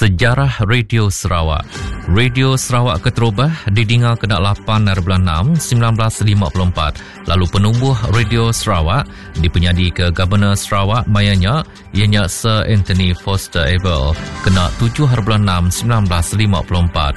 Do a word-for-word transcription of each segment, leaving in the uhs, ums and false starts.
Sejarah Radio Sarawak. Radio Sarawak keterubah didinga kena lapan hari bulan enam seribu sembilan ratus lima puluh empat. Lalu penumbuh Radio Sarawak dipenyadi ke Governor Sarawak mayanya ianya Sir Anthony Foster Abel kena tujuh hari bulan enam seribu sembilan ratus lima puluh empat.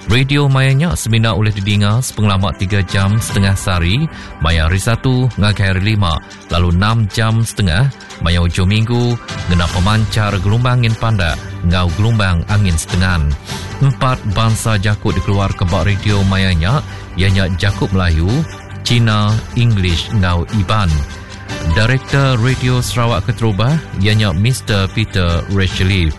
Radio mayanya semina oleh didinga sepengelama tiga jam setengah sehari maya hari satu ngagai hari lima lalu enam jam setengah maya hujung minggu ngena pemancar gelombang angin pandak ngau gelombang angin setengan. Empat bangsa jakut dikeluar ke bak radio mayanya ianya Jakut Melayu, Cina, English ngau Iban. Director Radio Sarawak keterubah ianya Mister Peter Rachelief.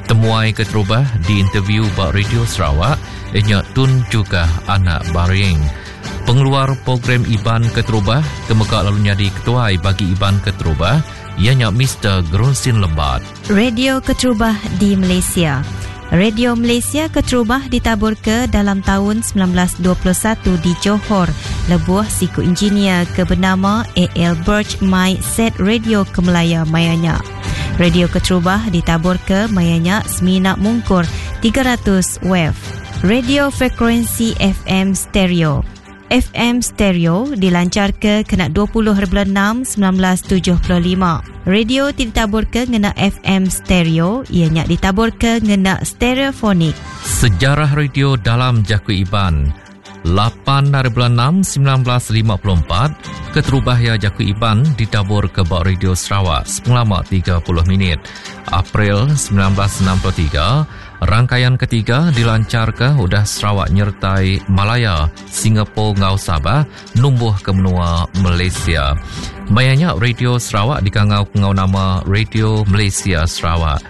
Temuai keterubah di interview bak Radio Sarawak ianya Tun Jugah Anak Baring. Pengeluar program Iban keterubah kemegak lalu nyadi ketuai bagi Iban keterubah ianya Mister Gerunsin Lembat. Radio keterubah di Malaysia. Radio Malaysia keterubah ditabur ke dalam tahun sembilan belas dua puluh satu di Johor. Lebuh siku engineer ke bernama A L Birch mai set radio ke Melaya mayanya. Radio keterubah ditabur ke mayanya semina mungkur tiga ratus wave. Radio frekuensi F M stereo. F M stereo dilancar ke kena dua puluh hari bulan enam sembilan belas tujuh puluh lima. Radio ditabur ke ngena F M stereo, ianya ditabur ke ngena stereofonik. Sejarah radio dalam Jaku Iban. lapan hari bulan enam sembilan belas lima puluh empat, keterubah ya Jaku Iban ditabur ke bak Radio Sarawak selama tiga puluh minit. April sembilan belas enam puluh tiga, rangkaian ketiga dilancar ke udah Sarawak nyertai Malaya, Singapura ngau Sabah numbuh ke menua Malaysia. Mayanya Radio Sarawak dikangau ngau nama Radio Malaysia Sarawak.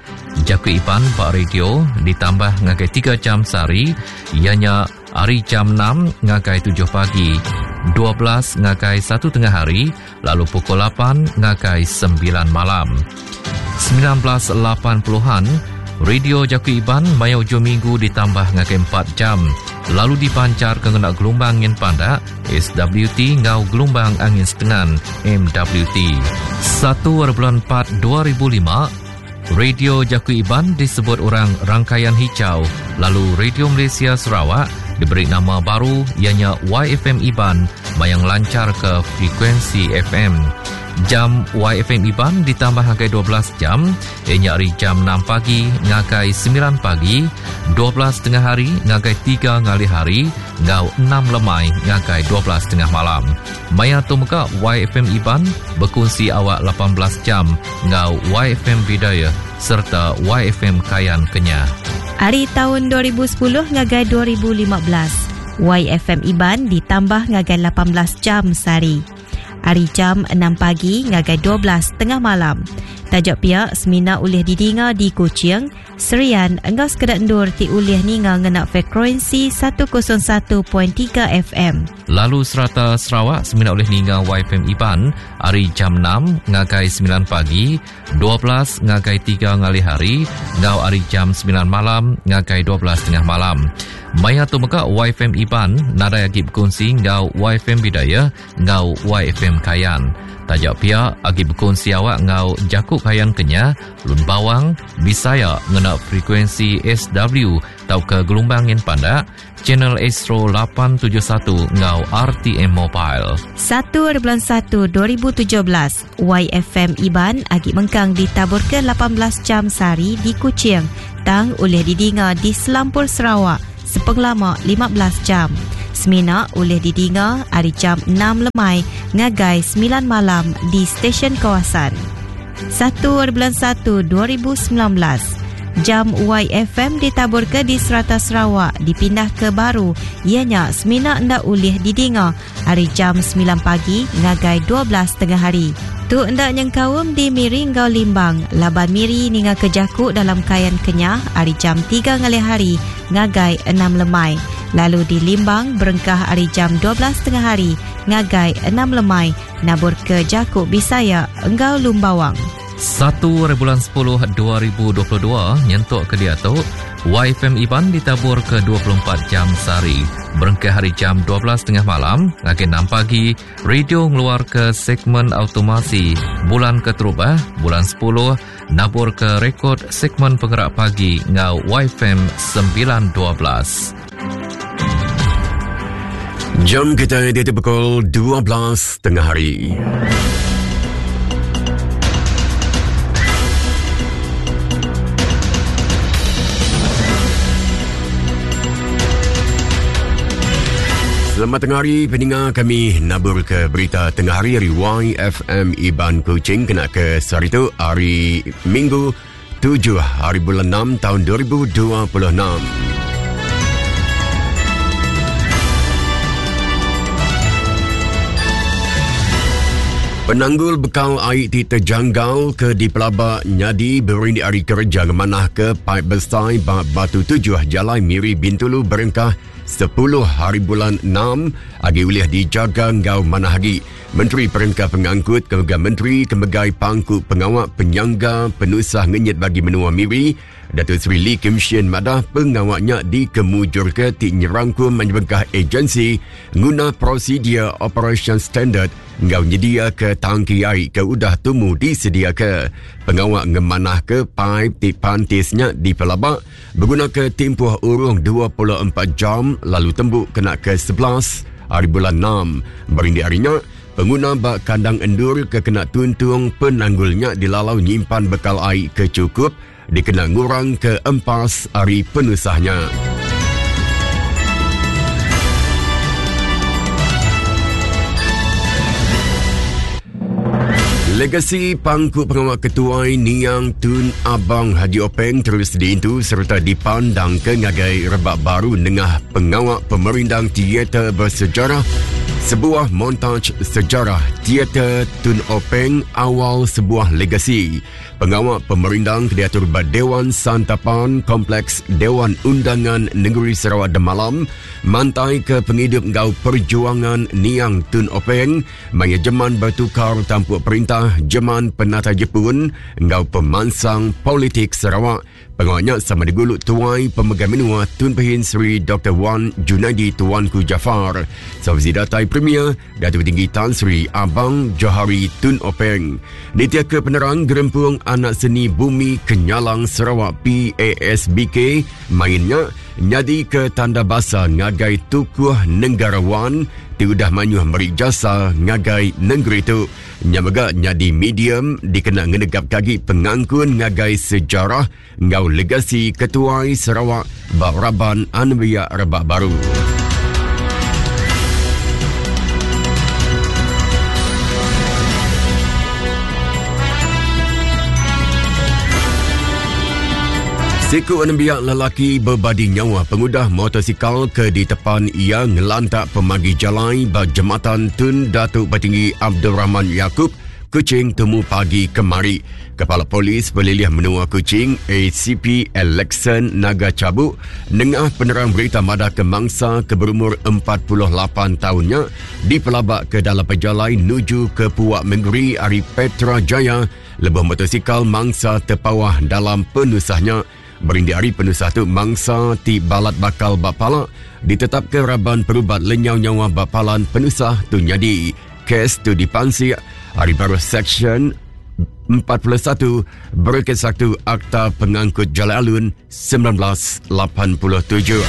Jaku Iban bak radio ditambah ngagai tiga jam sehari, ianya hari jam enam ngagai tujuh pagi, dua belas ngagai satu tengah hari, lalu pukul lapan ngagai sembilan malam. sembilan belas lapan puluhan, Radio Jaku Iban maya hujung minggu ditambah ngagai empat jam, lalu dipancar ke ngena gelombang angin pandak S W T ngau gelombang angin setengan M W T. Satu hari bulan empat dua ribu lima, Radio Jaku Iban disebut orang Rangkaian Hijau, lalu Radio Malaysia Sarawak diberi nama baru ianya Y F M Iban mayang lancar ke frekuensi F M. Jam Y F M Iban ditambah hagai dua belas jam, ianya hari jam enam pagi ngagai sembilan pagi, dua belas tengah hari ngagai tiga ngali hari, ngau enam lemai ngagai dua belas tengah malam. Maya tu mega Y F M Iban berkongsi awak lapan belas jam ngau Y F M Bidaya serta Y F M Kayan Kenyah. Hari tahun dua ribu sepuluh ngagai dua ribu lima belas, Y F M Iban ditambah ngagai lapan belas jam sehari. Hari jam enam pagi ngagai dua belas tengah malam. Tajuk pihak semina ulih didinga di Kuching, Serian, engkau sekedar endur ti ulih ninga ngena frekuensi satu kosong satu titik tiga F M. Lalu serata Sarawak semina ulih ninga Y F M Iban hari jam enam ngagai sembilan pagi, dua belas ngagai tiga ngali hari, ngau hari jam sembilan malam ngagai dua belas tengah malam. Maya tu mega Y F M Iban nadai agi berkongsi ngau Y F M Bidaya ngau Y F M Kayan. Tajak pihak agi berkongsi awak ngau Jakub Kayan Kenyah, Lun Bawang, Bisaya ngena frekuensi S W tau ke gelombang angin pandak, Channel Astro lapan tujuh satu ngau R T M Mobile. Satu hari bulan satu dua ribu tujuh belas, Y F M Iban agi mengkang ditabur ke lapan belas jam sehari di Kuching, tang oleh didinga di Selampur Sarawak sepengelama lima belas jam. Semina oleh didinga hari jam enam lemai ngagai sembilan malam di stesen kawasan. Satu hari bulan satu dua ribu sembilan belas, jam Y F M ditabur ke di serata Sarawak dipindah ke baru ianya semina ndak ulih didinga hari jam sembilan pagi ngagai dua belas tengah hari. Tu ndak nyengkaum di Miri ngau Limbang, laban Miri ninga kejakuk dalam Kayan Kenyah hari jam tiga ngalih hari ngagai enam lemai. Lalu di Limbang berengkah hari jam dua belas tengah hari ngagai enam lemai nabur ke Jakuk Bisaya enggau Lumbawang. Satu hari bulan sepuluh dua ribu dua puluh dua nyentuk ke dia tu Y F M Iban ditabur ke dua puluh empat jam sehari. Berengkah hari jam dua belas tengah malam, ngagai enam pagi, radio ngeluar ke segmen automasi bulan keterubah, bulan sepuluh, nabur ke rekod segmen penggerak pagi ngau Y F M sembilan dua belas. Jam kita di pukul dua belas tengah hari. Selamat tengah hari, pendengar kami nabur ke berita tengah hari dari Y F M Iban Kuching kena ke sehari tu, hari Minggu tujuh hari bulan enam tahun dua ribu dua puluh enam. Penanggul bekal air ti terjanggal ke di Pelaba nyadi berindik hari kerja ngemanah ke paip besai Batu Tujuh Jalai Miri Bintulu berengkah sepuluh hari bulan enam agi ulih dijaga ngau manah agi. Menteri Perengka Pengangkut Kemegai Menteri Kemegai Pangku Pengawak Penyangga Penusah Ngenyit Bagi Menua Miri Datuk Seri Lee Kim Shin madah pengawaknya dikemujur ke ti nyerangkum menyebengkah agensi guna prosedur operation standard ngau nyedia ke tangki air ke udah tumu disedia ke. Pengawak ngemanah ke paip ti pantisnya di Pelabak berguna ke tempoh urung dua puluh empat jam lalu tembuk kena ke sebelas hari bulan enam. Berindik harinya, pengguna bak kandang endur ke kena tuntung penanggulnya dilalau nyimpan bekal air ke cukup dikena ngurang ke empas hari penusahnya. Legasi pangku pengawal ketuai Niang Tun Abang Haji Openg terus diintu serta dipandang ke ngagai rebak baru nengah pengawal pemerindang teater bersejarah. Sebuah montaj sejarah teater Tun Openg awal sebuah legasi. Pengawal pemerindang diatur Dewan Santapan Kompleks Dewan Undangan Negeri Sarawak Demalam mantai ke penghidup ngau perjuangan Niang Tun Openg maya jeman bertukar tampuk perintah jeman penata Jepun ngau pemansang politik Sarawak. Pengawalnya sama diguluk tuai pemegang menua Tun Pehin Seri Doktor Wan Junaidi Tuanku Jaafar. Sauzi datai Premier Datuk Tinggi Tan Sri Abang Johari Tun Openg. Nitia ke penerang Gerempung Anak Seni Bumi Kenyalang Sarawak P A S B K mainnya nyadi ke tanda basa ngagai tukuh negarawan ti udah manyuh meri jasa ngagai negeri tu. Nyamega nyadi medium dikena ngenegap kagi pengangkun ngagai sejarah ngau legasi ketuai Sarawak baraban anbiya rebak baru. Siku anembiak lelaki berbadi nyawa pengudah motosikal ke di tepan ia ngelantak pemagi jalai ba jematan Tun Datuk Patinggi Abdul Rahman Yaakob, Kuching temu pagi kemari. Kepala Polis Pelilih Menua Kuching A C P Alexan Naga Cabuk nengah penerang berita madah ke mangsa ke berumur empat puluh lapan tahunnya dipelabak ke dalam pejalai nuju ke Puak Mengeri ari Petra Jaya lebih motosikal mangsa terpawah dalam penusahnya. Berindik hari penusah tu mangsa ti balat bakal bapala ditetap ke raban perubat lenyau nyawa bapalan penusah tu nyadi. Kes tu dipansik hari baru Seksyen empat puluh satu Berkait satu Akta Pengangkut Jalan Alun sembilan belas lapan puluh tujuh.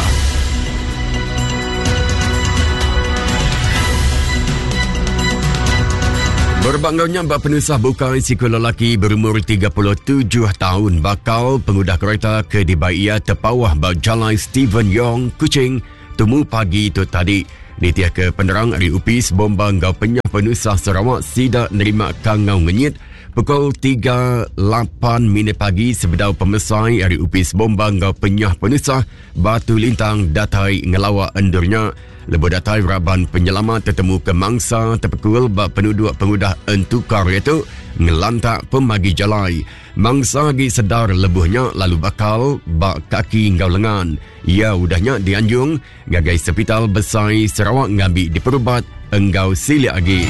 Berbangganya bak penusah bukai siku lelaki berumur tiga puluh tujuh tahun bakal pengudah kereta ke dibaia terpawah bak Jalan Stephen Yong, Kuching, temu pagi tu tadi. Nitiah ke penerang dari U P I S Bomba Ngau Penyah Penusah Sarawak sidak nerima kangau ngenyit pukul tiga lapan minit pagi sebedau pemesai dari U P I S Bomba Ngau Penyah Penusah Batu Lintang datai ngelawak endurnya. Lebuh datai raban penyelamat tertemu ke mangsa terpekul bak penduduk pengudah entukar itu ngelantak pemagi jalai. Mangsa lagi sedar lebuhnya lalu bakal bak kaki ngau lengan. Ia udahnya dianjung ngagai sepital besai Sarawak ngambil diperubat enggau silik lagi.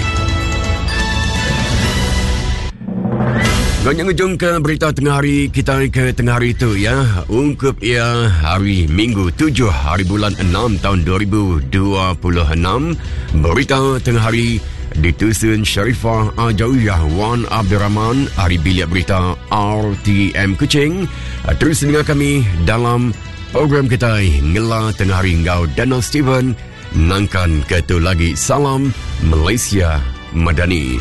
Banyak ngejung ke berita tengah hari kita ke tengah hari tu ya. Ungkup ia hari Minggu tujuh hari bulan enam tahun dua ribu dua puluh enam. Berita tengah hari ditusun Sharifah Ajawiyah Wan Abdul Rahman, hari bilik berita R T M Kuching. Terus dengar kami dalam program kita Ngela Tengah Hari Ngau Daniel Steven. Nangkan ketu lagi. Salam Malaysia Madani.